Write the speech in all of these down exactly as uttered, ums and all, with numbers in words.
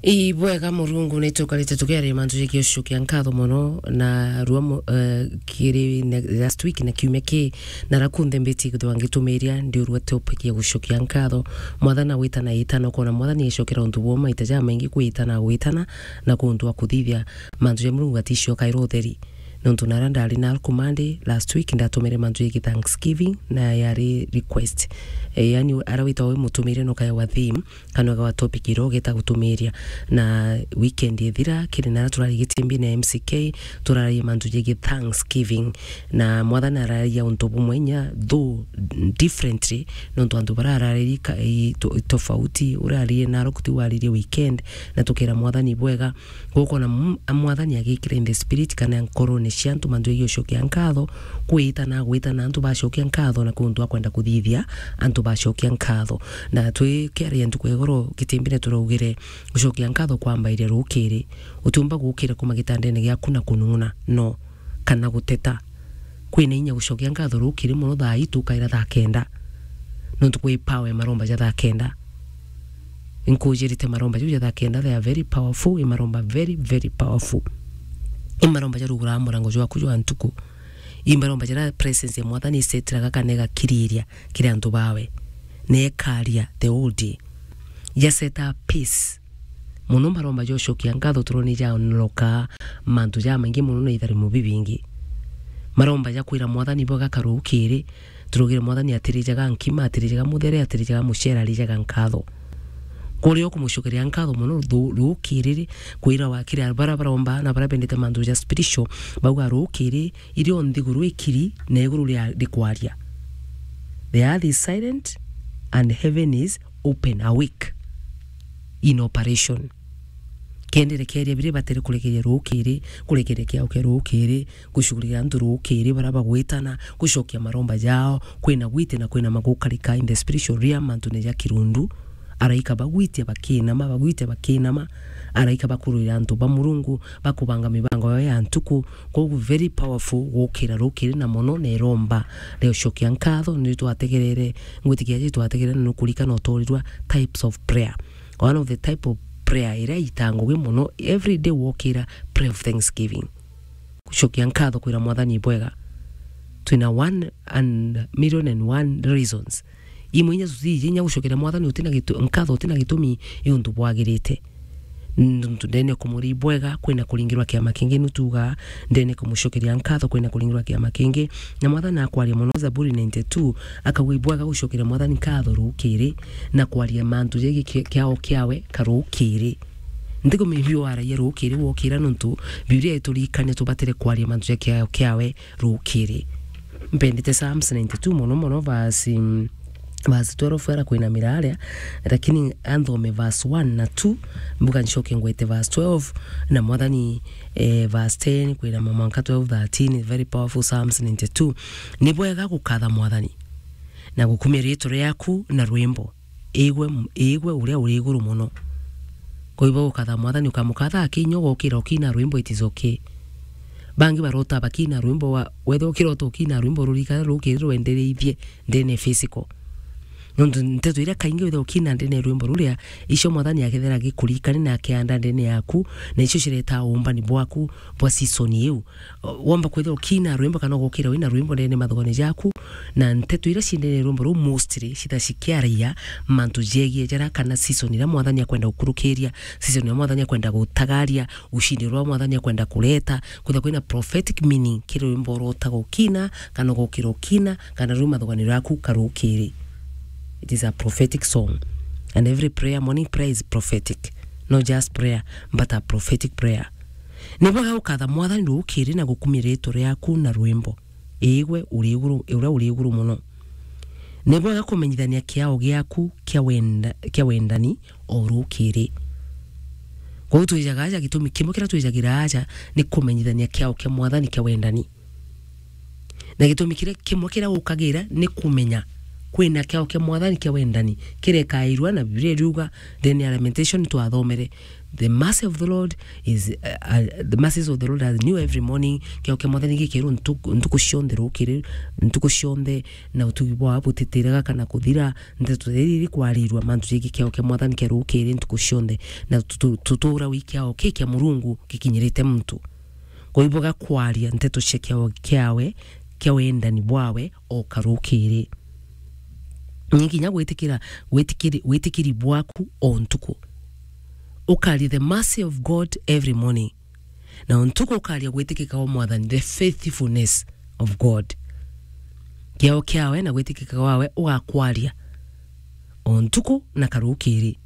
Ibwega Murungu, ni tukarite tukiaria mantu jegie gucokia nkatho mono, na rua mu-, eh, kiri ne-, last week na kiumia ki, na rakunthe mbiti kwithirwa ngitumiria, ndiurua topic ya gucokia nkatho. Mwathani na gwitana itana, ukona Mwathani ecokera untu bumwe maita jamaingi, gwitana gwitana, na kuntu wa kuthithia mantu ja Murungu aticio kaira utheri. Nontu nara ndari na Alkumandi last week, ndatumire mantu jegie Thanksgiving, na yari request. Eh, yani, ara wita wi mutumire no kaewa theme, kana ugawa topic iria ugeta gutumiria. Na weekend ithira, kiri nara turari Gitimbi na M C K, turaragia mantu jegie Thanksgiving. Na Mwathani araria untu bumwe inya, though differently, nontu antu bara araririe ka-, i to-, tofauti, uria aririe naro kuti waririe weekend, na tukera Mwathani bwega. Gukona m-, a Mwathani agikira in the spirit kana nkorone cia antu mantu jegie gucokia nkatho, gwitana, gwitana antu bacokia nkatho na kuntu akwenda kuthithia antu bacokia nkatho. Na twikiaria ntuku ya igoro Gitimbine turaugire gucokia nkatho kwambairia rukiri. Utiumba gukira kuma gitandene giaku na kunung'una, no, kana guteta. Kwina inya gucokia nkatho rukiri mono thaa itu ukaira thaa kenda. Nontu kwi power ya maromba ja thaa kenda. Nkujirite maromba jau ja thaa kenda, they are very powerful, i maromba very, very powerful. I maromba jaruguraa murango jwaku jwa ntuku. I maromba jaria presence ya Mwathani isetiraga kana igakiriria kiri antu bawe. Na ikaria the whole day. Jaseta peace. Mono maromba ja ucokia nkatho turone jaonoka mantu jamaingi mono na itharimo bibingi. Maromba ja kwira Mwathani bwega karukiri, turugire Mwathani atirijaga nkima, atirijaga muthere, atirijaga mucere, arijaga nkatho. Kuria ukumucokeria nkatho mono thu-, rukiri ri, kwira wakira bara baromba na bara bendete mantu ja spiritual, bauga rukiri, irio nthiguru ikiri na iguru ria-, rikwaria. The earth is silent and heaven is open, awake, in operation. Kenda irekeria biria ibatere kurekeria rukiri, kurekeria kiao kia rukiri, gucugurira antu rukiri, bara bagwitana, gucokia maromba jao, kwina gwiti na kwina magukarika in the spiritual realm, antu ni ja kirundu. Araika bagwitia bakinama, bagwitia bakinama. Araika bakurwira antu ba Murungu, bakubanga mibango yao ya ntuku. Koguo very powerful gukira rukiri na mono na iromba ria ucokia nkatho. Ni twategerere, ngwitikia ji twategerere na nukurikana utorirwa types of prayer. One of the type of prayer iria itaa ngugi mono, every day wokira, pray of thanksgiving. Gucokia nkatho kwira Mwathani bwega. Twina one and million and one reasons. Imwe inya tuti inya gucokeria Mwathani utina gitu-, nkatho utina gitumi i untu bwagirite. Nontu ndene kumuri bwega, kwina kuringirwa kiama kingi nutuga, ndene kumucokeria nkatho, kwina kuringirwa kiama kingi. Na Mwathani akwaria mono Zaburi ninety-two, akauga ibwega gucokeria Mwathani nkatho rukiri, na kwaria mantu jegie ki-, kiao kiawe karukiri. Ntikumenya biu waragia rukiri wokira, nontu Biblia ituririkania tubatire kwaria mantu ja kiao kiawe rukiri. Mpendete Psalms ninety-two mono mono, verse, mm, verse twelve ara kwinamira aria, lakini anthome verse one na two, mbuga ncoke ngwete verse twelve, na Mwathani, eh, verse ten kwinama mwanka twelve, thirteen, very powerful Psalms ninety-two. Ni bwega gukatha Mwathani, na gukumia riitwa riaku na rwimbo. Igwe, igwe uria uri iguru mono. Kwa hivyo ukatha Mwathani, ukamukatha akinya ugokira ukina rwimbo, it is okay. Bangi barota bakina rwimbo wa, wethira ukirota ukina rwimbo rurikana rukiri rwendereithie ndene physical. Nontu nteto iria kaingi withira ukina ndene rwimbo ruria, icio Mwathani akethira agikurikani na akianda ndene yaku, na icio cireta uumbani bwaku bwa season iu. Womba kwithirwa ukina rwimbo kana ugokira wina rwimbo ndene mathugone jaku, na nteto iria ciendere rwimbo ruu mostly citha cikiaragia mantu jegie jara kana season iria Mwathani akwenda gukurukiria, season iria Mwathani akwenda gutagaria, ushindi uria Mwathani akwenda kureta. Kwitha kwina prophetic meaning kiri rwimbo uria utaga ukina kana ugokira ukina kana ruu mathugone jaku karukiri. It is a prophetic song. And every prayer, morning prayer is prophetic. Not just prayer, but a prophetic prayer. Ni bwega gukatha Mwathani rukiri na gukumia riitwa riaku na rwimbo. Igwe uri iguru, uria uri iguru mono. Ni bwega kumenyithania kiao giaku kia wenda, kia wendani o rukiri. Kwou twijaga aja, gitumi kimwe kiria twijagira aja ni kumenyithania kiao kia Mwathani kia wendani. Na gitumi kiria kimwe kiria ukagira ni kumenya Kwina kiao kia Mwathani kia wendani kirekairua, na Biblia iriuga, ndene ya Lamentation twathomere, "The mercy of the Lord is, uh, uh, the mercies of the Lord are new every morning." Kiao kia Mwathani gikirwo ntuku, ntuku cionthe rukiri, ntuku cionthe, na utugi bwao butitiraga kana kuthira. Nteto iri iri kwarirua mantu jegi kiao kia Mwathani kia rukiri ntuku cionthe, na tutu-, tutura wi kiao ki kia Murungu gikinyirite muntu. Kwa hivyo gakwaria nteto cia kiao kiawe, kia wendani bwawe o karukiri. Ni kinya gwitikira, gwitikiri, gwitikiri bwaku o ntuku. Ukaria the mercy of God every morning. Na o ntuku ukaria gwitikika gwa Mwathani, the faithfulness of God. Kiao kiawe na gwitikika gwawe ugakwaria o ntuku na karukiri.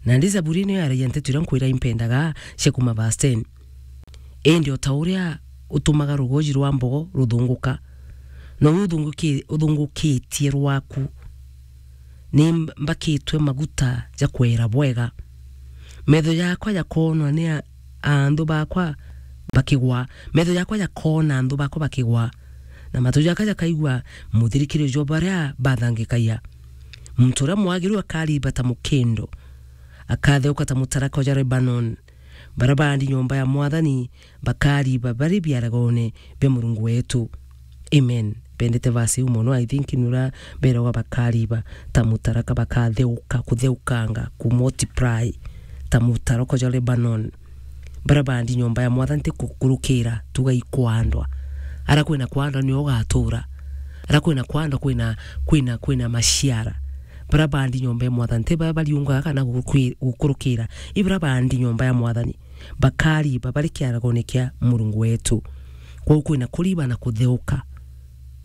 Na ndi Zaburi ino yaragia nteto iria nkwira impendaga cia kuma verse ten. Indi o ta uria utumaga rugoji rwa mbogo ruthunguka, nou uthunguki-, uthungukitie rwaku, ni mbakitwe maguta ja kwera bwega. Metho jakwa jakoonwa ni a-, anthu bakwa bakigwa. Metho jakwa jakoona anthu bakwa bakigwa, na matu jakwa jakaigua muthirikirio jwa baria bathangikagia. Muntu uria mwagiru akariba ta mukindo, akatheuka ta mutaraka ja Lebanon. Baria baandi nyomba ya Mwathani bakariba bari biaragone bia Murungu wetu. Amen. Bendete verse iu mono. I think ni uria beragwa bakariba ta mutaraka, bakatheuka, kutheukanga, ku multiply ta mutaraka ja Lebanon. Baria baandi nyomba ya Mwathani ti kukurukira, tuga ikwandwa. Ara kwina kwandwa nio ugatura. Ara kwina kwandwa kwina, kwina, kwina maciara. Baria baandi nyomba ya Mwathani ti baria bariungaga kana gukwi-, gukurukira. I baria baandi nyomba ya Mwathani bakariba bari kiaragone kia Murungu wetu. Kwou kwina kuriba na kutheuka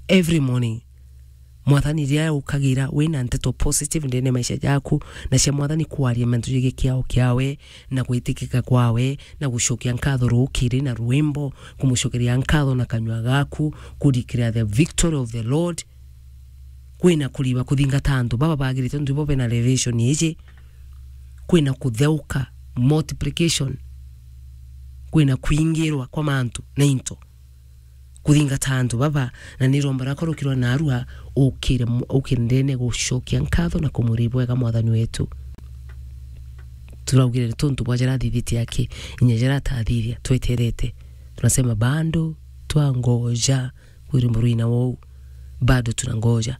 every morning. Mwathani riria ukagira wina nteto positive ndene maisha jaku, na cia Mwathani kwaria mantu jegii kiao kiawe, na gwitikika kwawe, na gucokia nkatho rukiri na rwimbo, kumucokeria nkatho na kanyua gaku, ku declare the victory of the Lord. Kwina kuriba kuthingata antu baba bagirite, nontu ibo bena revelation iji. Kwina kutheuka, multiplication. Kwina kwingirwa kwa mantu na into. Kuthingata antu baba, na niromba rakorokirwa narua, ukire mu-, ukire ndene gucokia nkatho na kumuri bwega Mwathani wetu. Turaugire ni tuntu bwa jara athithitie aki, inya jara atathithia, tweterete. Tunasema bado twangoja. Kwiri murwina wou, bado tunangoja.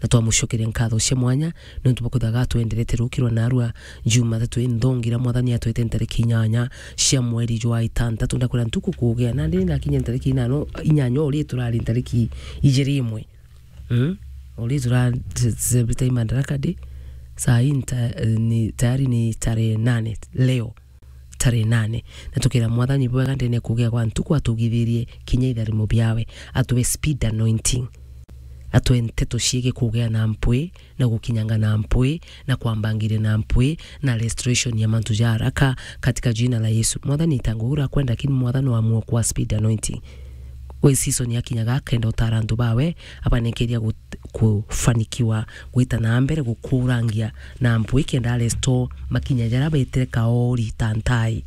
Na twamucokeria nkatho cia mwanya, nontu bwa kwithirwa gatwenderete rukirwa narua Jumathatu inthongi iria Mwathani atwete ntariki inyanya cia mweri jwa itantatu. Ndakwira ntuku kugea, nandi ndakinya ntariki inano, inyanya uri turari ntariki ijiri imwe. Mm? Uri tura celebrate Madaraka Day, saa hii nta-, ni, tayari ni tarehe nane leo. Tarehe nane. Na tukira Mwathani bwega ndene kugia gwa ntuku atugithirie kinya itharimo biawe. Atwe speed anointing. Atwe nteto ciigi kugia na mpwi, na gukinyanga na mpwi, na kwambangiria na mpwi, na restoration ya mantu ja haraka katika jina la Yesu. Mwathani itangu ura kwenda, lakini Mwathani wa muoko wa speed anointing. We season yakinyaga akenda utara antu bawe, abanenkeria gut-, kufanikiwa gwita na mbere gukurangia na mpwi kenda restore makinya jaria betire kaori ta ntai.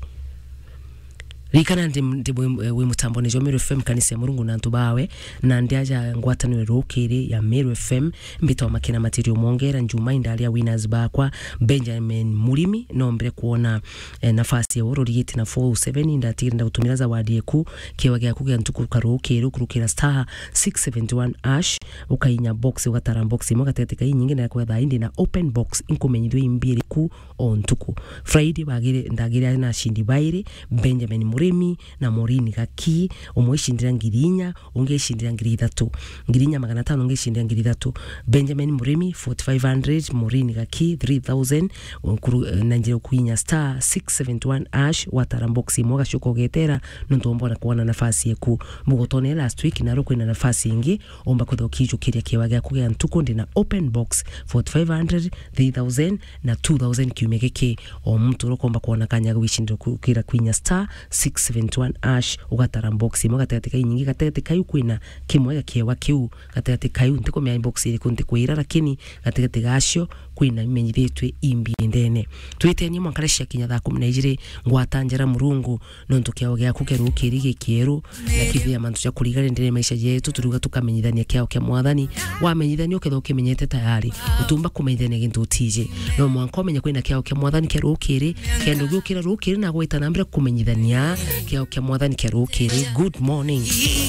Ririkana ndi, ndi wi, wi mutambone jwa Meru F M, kanisa ya Murungu na antu bawe, na ndi aja ngwataniro rukiri ya Meru F M, mbitwa Makena Material Mwongera, Njuma indaria winners bakwa, Benjamin Murimi, nombire kuona eh, nafasi ya uru rigite na four oh seven, indatigire ndagutumira zawadi eku, kiewa giaku gia ntuku karukiru, kurukira star six seventy one hash, ukainya box, ugatara box imwe gatigati ka inyingi, na kwetha indi na open box, inkumenyithio imbiri ku o ntuku. Friday bagire, ndagire na ashindi bairi, Benjamin Murimi na Maureen Gaki, umwe icindira ngiri inya, ungi icindira ngiri ithatu. Ngiri inya magana atano, ungi icindira ngiri ithatu. Benjamin Murimi, forty-five hundred, Maureen Gaki, three thousand, ukuru-, na njira ukuinya star six seventy one hash, watara box imwe, ugacoka ugetera, nontu womba ona kwona nafasi eku. Mugotone last week, naro kwina nafasi ingi, omba kwithwa ukijukiria kiewa giaku gia ntuku, ndina open box, forty-five hundred, three thousand, na two thousand kiumia giki. O muntu uria ukomba kwona kanya ga gwicindira ku-, kira kwinya star six six seven one hash, ugatara box imwe gatigati ka inyingi, gatigati kau kwina kimwe gia kiewa kiu, gatigati kau ntikumenya box iriku ntikwira, lakini gatigati gacio kwina imenyithitue imbi ndene. Twitenie mwanka riria ciakinya thaa kumi na ijiri, ngwata njara Murungu, nontu kiao giaku kia rukiri gikieru, na kithia mantu ja kurigania ndene maisha jetu, turiuga tukamenyithania kiao kia Mwathani. Wamenyithania ukethwa ukimenyete tayari, utumba kumenyithania gintu utiji. No mwanka umenye kwina kiao kia Mwathani kia rukiri, kenda ugiukira rukiri na gwita na mbere kumenyithania kiao kia Mwathani kia rukiri. Good morning.